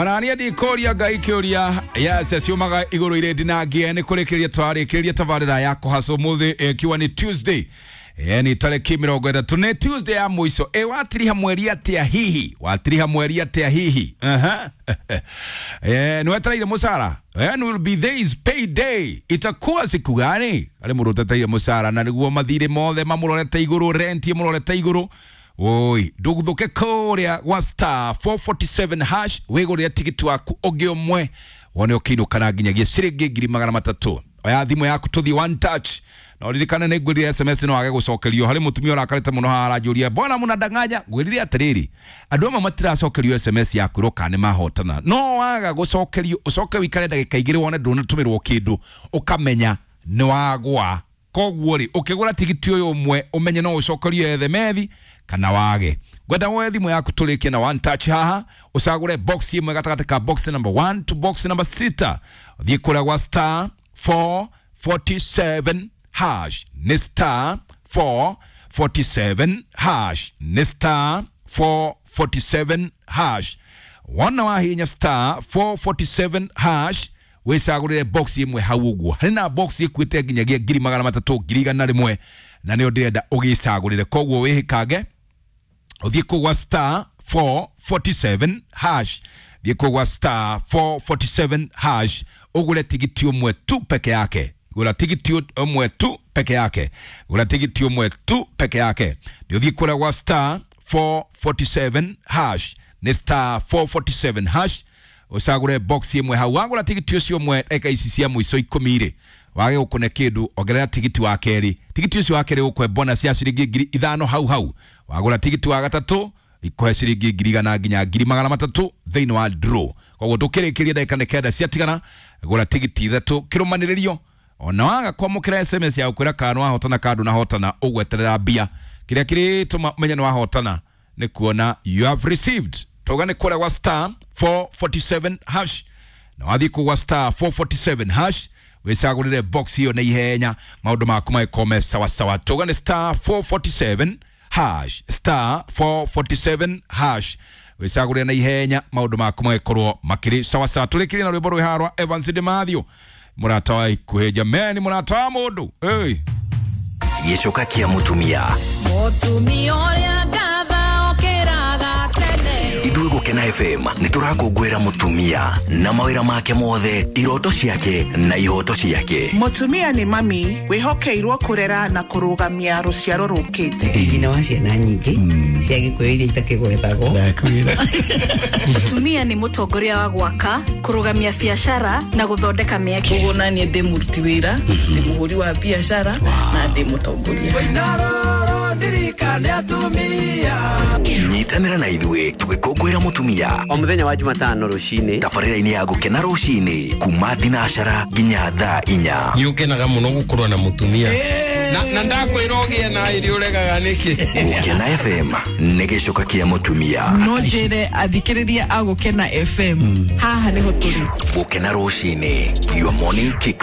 Ona niĩ ndikũria Ngai kĩũria. Yes, ciumaga igũrũ irĩ ndinangie. Nĩ kũrĩkĩrĩria twarĩkĩrĩria tabarĩra ya kũhaca ũmũthĩ, ĩkiwa nĩ Tuesday, nĩ tarĩki 30, nĩ Tuesday ya mũico. Ĩ watiriha mweri atĩa hihi? Watiriha mweri atĩa hihi? Aha. Nĩ wetereire mũcara? When will be this payday? Itakuwa siku gani? Arĩ mũndũ ũteteire mũcara na nĩguo mathirĩ mothe mamũrorete igũrũ, rent ĩmũrorete igũrũ. Oi, ndũgũthũke kũrĩa gwa star 447 hash wĩgũrĩre tigiti waku ũngĩ ũmwe, wone ũkĩinũka nginyagia ciringi 300,000. Oya thimũ yaku tũthiĩ one touch, na ũririkane nĩ ngwĩrire SMS no wage gũcokerio. Harĩ mũtumia ũrakarĩte mũno haha aranjũria, "Mbona mũnandanganya?" Ngwĩrire atĩrĩrĩ, andũ amwe matiracokerio SMS ya kwĩrwo kana nĩ mahotana. No waga gũcokerio, ũcoke wĩikare ndagĩka 2 wone ndũnatũmĩrwo kĩndũ, ũkamenya nĩ wagwa. Koguo rĩ, ũkĩgũra tigiti ũyũ ũmwe, ũmenye no ũcokerio SMS kana wage. Ngwenda woe thimũ yaku tũrĩkie na one touch haha, ũcagũre box ĩmwe gatagatĩ ka box number 1 to box number 6. Ũthiĩ kũrĩa gwa star 447 hash, nĩ star 447 hash, nĩ star 447 hash. Wona wahinya star 447 hash, wĩcagũrĩre box ĩmwe hau ũguo. Harĩ na box ĩkuĩte nginyagia 300,000, 101,000, na nĩyo ndĩrenda ũgĩcagũrĩre. Koguo wĩhĩkange ũthiĩ kũu gwa star 447 hash, thiĩ kũu gwa star 447 hash, ũgũre tigiti ũmwe tu peke yake. Gũra tigiti ũmwe tu peke yake, gũra tigiti ũmwe tu peke yake. Nĩ ũthiĩ kũrĩa gwa star 447 hash, nĩ star 447 hash, ũcagũre box ĩmwe hau. Wagũra tigiti ũcio ũmwe, ndagĩka ici cia mũico 10 rĩ, wage gũkũne kĩndũ, ongerera tigiti wa kerĩ. Tigiti ũcio wa kerĩ ũkũhe bonus ya ciringi 5,000 hau hau. Wagũra tigiti wa gatatũ, ikũhe ciringi 100,000 nginya 300,000 thĩinĩ wa draw. Koguo tũkĩrĩkĩria, ndagĩka nĩ 9 ciatigana, gũra tigiti 3 kĩrũmanĩrĩrio. Ona waga kwamũkĩra SMS ya gũkwĩra kana wahotana kana ndũnahotana, ũgweterera mbia. Kĩrĩa kĩrĩtũma ũmenye nĩ wahotana nĩ kuona "you have received". Tuga nĩ kũrĩa gwa star 447 hash, na wathiĩ kũu gwa star 447 hash, wĩcagũrĩre box ĩyo na ihenya, maũndũ maku magĩkorwo me sawasawa. Tuga nĩ star 447 hash, star 447 hash, wĩcagũrĩre na ihenya, maũndũ maku magĩkorwo makĩrĩ sawasawa. Tũrĩkĩrie na rwĩmbo rwĩ haha rwa Evans Demathio, mũrata wa ikuhĩ, jameni, mũrata wa mũndũ hey. Gĩcoka kĩa mũtumia. Mũtumia ũrĩa ngatha okĩraga tene. Ithuĩ Gũkena FM nĩ tũrakũngũĩra mũtumia na mawĩra make mothe, iroto ciake na ihoto ciake. Mũtumia nĩ mami wĩhokeirwo kũrera na kũrũgamia rũciaro rũkĩte. Nyina wa ciana nyingĩ cia Gĩkũyũ iria itakĩgwetagwo. Mũtumia nĩ mũtongoria wa gwaka, kũrũgamia biacara na gũthondeka mĩeke. Koguo naniĩ ndĩ mũruti wĩra, ndĩ mũhũri wa biacara na ndĩ mũtongoria. Nyitanĩra na ithuĩ tũgĩkũngũĩra mũtumia o mũthenya wa Jumatano rũcinĩ tabarĩra-inĩ ya Gũkena rũcinĩ kuma thinacara nginya thaa 4. Nĩ ũkenaga mũno gũkorwo na mũtumia na ndakwĩra ũgĩe na ĩrĩ ũregaga nĩkĩ? Gũkena FM nĩ gĩcoka kĩa mũtumia. No njĩre athikĩrĩria a Gũkena FM, haha nĩho tũrĩ. Gũkena rũcinĩ, your morning kick.